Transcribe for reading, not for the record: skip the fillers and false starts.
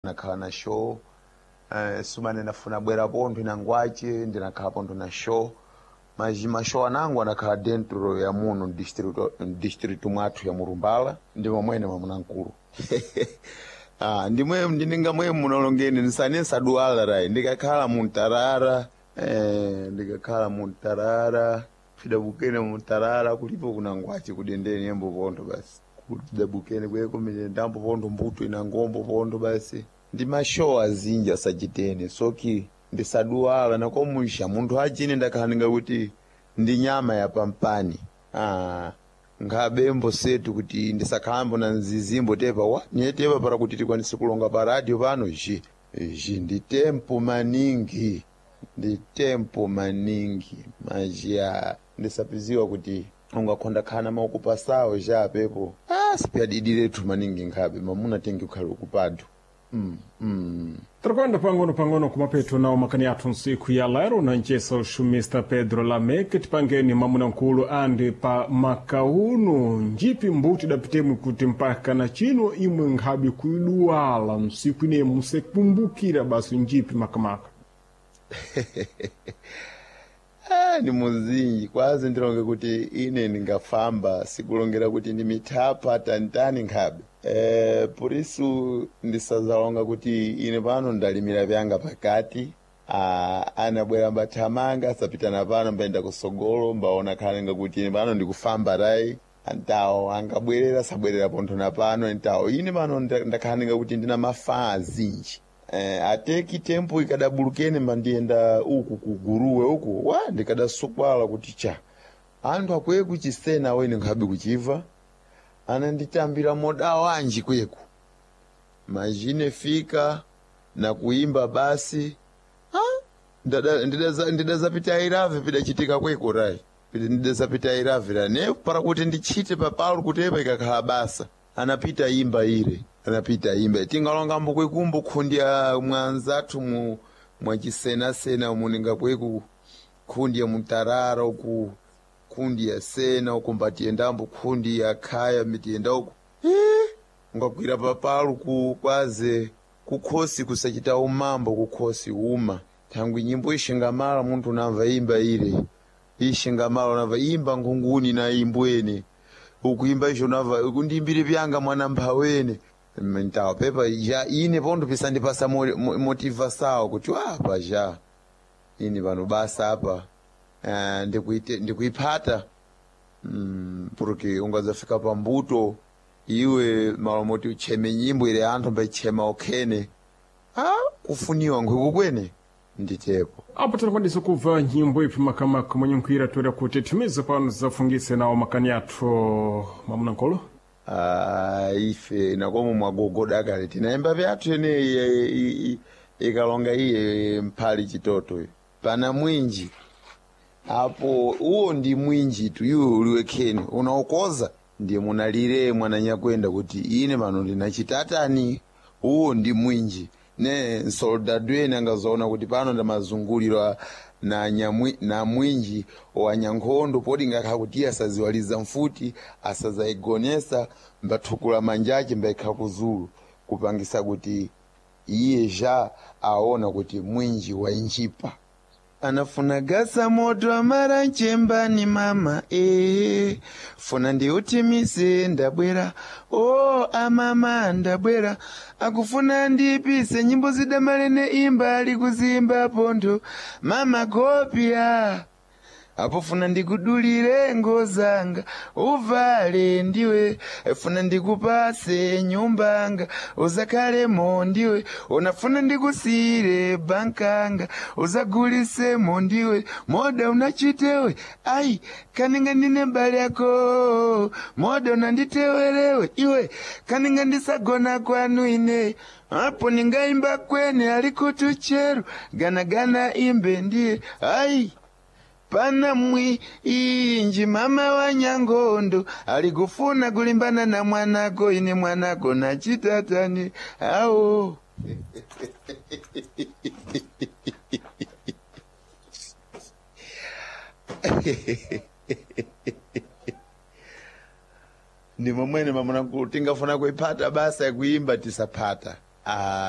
Nakhala na show sumane nafuna bwera pontho inangwace ndinakhala pontho na show maji mashow anangu anakhala dentro ya muno district mwathu ya Murumbala ndi momwene mwamuna mkulu. Ah, ndimwe ndininga mwe munalongeni nsane nsaduwala rai ndikakhala muntarara ndikakhala muntarara pidabukene muntarara kulipo kunangwache kudendeni embo pontho basi kudabukene kweko ndambo pontho mbuto inangombo pontho basi ndi mashow azinji asachitene soki ndisaduwala nakomusha munthu achine ndakhala ninga kuti ndi nyama ya pampani. Ah, nkhabembo setu kuti ndisakhalambo na nzizimbo tepa wa nye tepa para kuti tikwanise kulonga pa radio pano ji ji ndi tempo maningi ndi tempo maningi majiya ndisapiziwa kuti ungakhonda khana maukupasawo ja pepo ah, sipyadidiretu maningi nkhabe mamuna tengi ukhale ukupanthu. Tirakwenda pang'ono pang'ono kumapeto nawo makani athu ntsiku ya lero na ncesa uxumista Pedro Lamek tipangeni mwamuna-nkulu andi pa makauno njipi mbuti dapitemwe kuti mpaka na chino imwe nkhabe kuiduwala ntsiku ine musekumbukira basi njipi makamaka. Ah, ni muzinji kwazi ndilonge kuti ine ndingafamba sikulongera kuti ndi mithapa tantani nkhabe purisu ndisazalonga kuti ine pano ndalimira vyanga pakati. Ah, anabwera mbathamanga asapitana pano mbayenda kusogolo mbaona khalenga kuti ine pano ndikufamba rai antawo angabwerera sabwerera pontho na pano ntawo ine pano ndakhalenga kuti ndina mafaa azinji. Ateki tempo ikadabulukene mandiyenda uku kuguruwe uku wa ndikadasukwala kuti cha anthu akwiye kuchisena awene nkhabe kuchiva ananditambira moda wanji kweku majine fika na kuimba basi. Ah, ndidazapita irave pidachitika kweko rai ndidazapita irave ra ne para kuti ndichite papalo kutepa ikakhala basa anapita imba ire anapita imba tingalongambo kwekumbo khundya mwanzathu mu mwachisenasena muninga kweku khundya mutarara uku khundya sena uku mbatiyendambo khundya khaya mitiyenda uku ungagwira papalu ku kwaze kukhosi kusachita umambo kukhosi uma thangwi nyimbo ishingamala munthu unamva imba ire ishingamala unamva imba ngunguni na imbwene ukuimba isho unamva kundimbire vyanga mwana mphawene ntawo pepa ja ine pontho pisandipasa motivasawo kuti apa ja ine pano basa apa ndikuiphata porque ungazafika pambuto iwe malomoti ucheme nyimbo ile anthu mbaichema okhene ah, kufuniwa nkhwikukwene nditepo. Apo tinakwanisa kubva nyimbo ipi makamaka mwenye nkhwira toera kuti timize pano zafungise nawo makani athu mwamuna-nkulu. Ah, ife nakomo mwagogoda kale tinaimba vyathu yeneyi ikalonga iye mphali chitoto pana mwinji apo uwo ndi mwinji tu iwe uliwekheni unaukoza ndiye munalire mwananyakwenda kuti ine pano ndinachitatani uwo ndi mwinji ne soldado ene angazoona kuti pano ndamazungulirwa na nyamwi, na mwinji wa nyankhondo poti ngakha kuti iye asaziwaliza mfuti asazayigonesa mbathukula manjache mbaikha kuzulu kupangisa kuti iye ja aona kuti mwinji wainjipa anafuna gasa moto amara nchembani mama funa ndiutimise ndabwera o amama ndabwera akufuna ndipise nyimbo zidamalene imba ali kuzimba pontho mama kopya apo funa ndikudulire ngozanga uvale ndiwe funa ndikupase nyumbanga uzakhalemo ndiwe unafuna ndikusiyire bankanga uzagulisemo ndiwe moda unachitewe ai kaninga ndine mbali yako moda unanditewerewe iwe kaninga ndisagona kwanu ine apo ningaimba kwene alikutucheru ganagana imbe ndiye ai pana mwi inji mama wa nyangondo alikufuna kulimbana na mwanako ine mwanako na chitatani awo. Ndi momwene mamuna tingafuna kuiphata basa yakuimba tisaphata. Ah.